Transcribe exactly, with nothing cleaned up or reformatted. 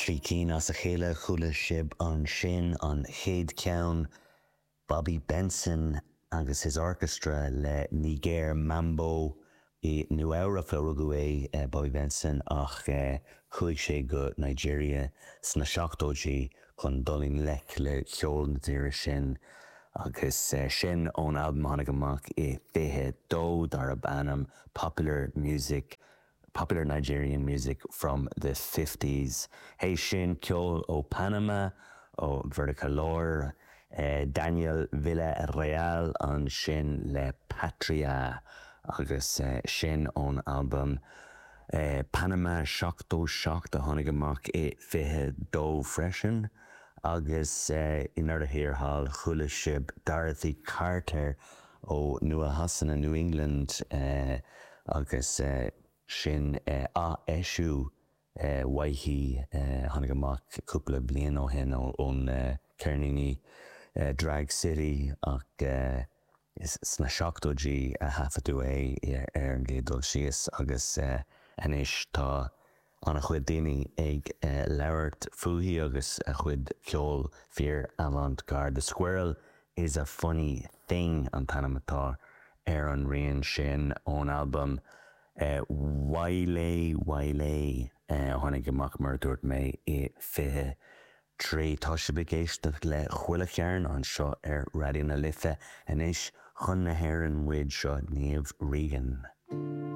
Trí cinn as a chéile chuala sibh ansin an chéad cheann Bobby Benson agus his orchestra le Niger Mambo i Nua-Eabhrac a rugadh é Bobby Benson ach chuaigh sé go Nigeria sna seachtóidí chun dul i ngleic le ceol na tíre sin agus sin ón albam tháinig amach i fiche dó darb ainm Popular Music Popular Nigerian Music from the fifties. Théis sin ceol ó Panama ó Mheiriceá Láir, Daniel Villarreal ansin le Patria agus sin ón albam Panama seachtó seacht a tháinig amach i fiche dó freisin. Agus i ndeireadh thiar thall chuala sibh Dorothy Carter ó Nua-Shasana New England agus sin ath-eisiú uaithi tháinig amach cúpla bliain ó shin ón ceirníní Drag City ach sna seachtóidí a thaifeadadh é ar an gcéad dul síos agus anois tá an-chuid daoine ag labhairt fúithi agus a chuid ceol fíor avant-garde. The Squirrel is a Funny Thing an t-ainm atá ar an rian sin ón albam Wale Wale a tháinig amach mar a dúirt mé i fiche trí. Tá sibh ag éisteacht le Chuile Chearn anseo ar Raidió na Life anois chun na hÉireann muid seo Niamh Regan.